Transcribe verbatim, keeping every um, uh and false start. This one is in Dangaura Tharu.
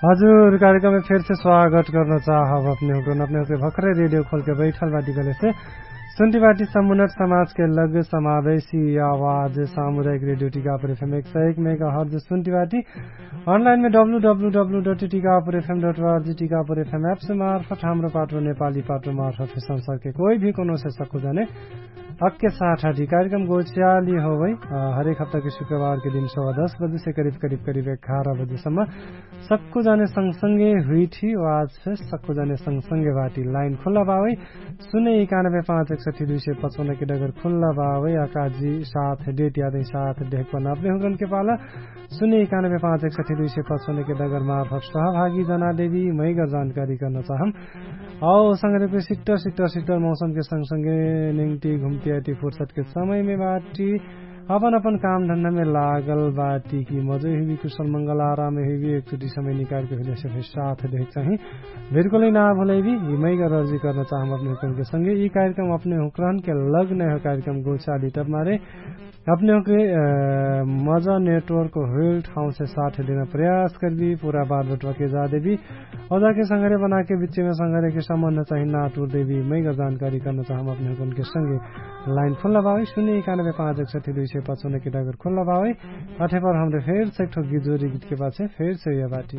हजुर, कार्यक्रममे फेरसे स्वागत गर्न चाहब अपने हुँकरन। अपने हुँकरे भखरे रेडियो खोलके बैठल बाटी कहलेसे सुन्टी बाटी समुन्नट समाजके लग समावेशी आवाज सामुदायिक रेडियो टिकापुर एफएम एक सय एक मेगा हर्ज सुन्टी बाटी। अनलाइनमे W W W dot Tikapur एफएम डट अर्जी टिकापुर एफएम एप्स मार्फट हाम्रो पाटो नेपाली पाटो मार्फट संसारके कोही भी कोनो से सक्कु जाने अक्के साठ आटी कार्यक्रम गोच्याली होवै। हरेक हप्ताके शुक्रबारके दिन सवा दस बजेसे करिब करिब करिब एघार बजेसम्म सक्कु जाने संगसंगे हुइठी। आवाज फे सक्कु जाने संगसंगे बाटी लाइन खुल्ला बावै। सुने इकानबे पाँच एक सठी दुई सय पचपन्नके डगर खुल्ला बावै। अकाजी साथ डेट यादै साथ ढेकपन अपने हुँकरनके पाला सुने इकानबे पाँच एक सठी दुई सय पचपन्नके डगर मार्फट सहभागी जना देवी मैगर जानकारी कर्न चाहम। औ संगरेपे सिक्टर सिक्टर सिक्टर मौसमके संगसंगे निङ्टी घुम्टी आटी फुर्सदके समयमे बाटी अपन अपन काम धन्दामे लागल बाटी कि मजै हुइबी कुशल मंगल आरामे हुइबी एकचोटी समय निकालके हुइलेसे फे साथ देख चाही। बिल्कुलै ना भुलैबी यि मैगर अर्जी कर्न चाहम अपने हुँकरनके संगे यि कार्यक्रम अपने हुँकरनके लग नै हो कार्यक्रम गोचाली तब मारे अपने हुँकरे मजा नेटवर्क होइल ठाउँसे साथ देना प्रयास करबी। पुरा बात बटवाके जा देबी औ जाके संगरे बनाके बिच्चेमे संगरेके सम्बन्ध चाही ना टुर देबी मैगर जानकारी कर्न चाहम अपने हुँकरनके संगे। लाइन खुल्ला बावै सुने इकानबे पाँच एक सठी दुई सय पचपन्नके डगर खुल्ला बावै। अठेपर हमरे फेरसे एकठो गिजोरी गितके पाछे फेरसे हुइया बाटी।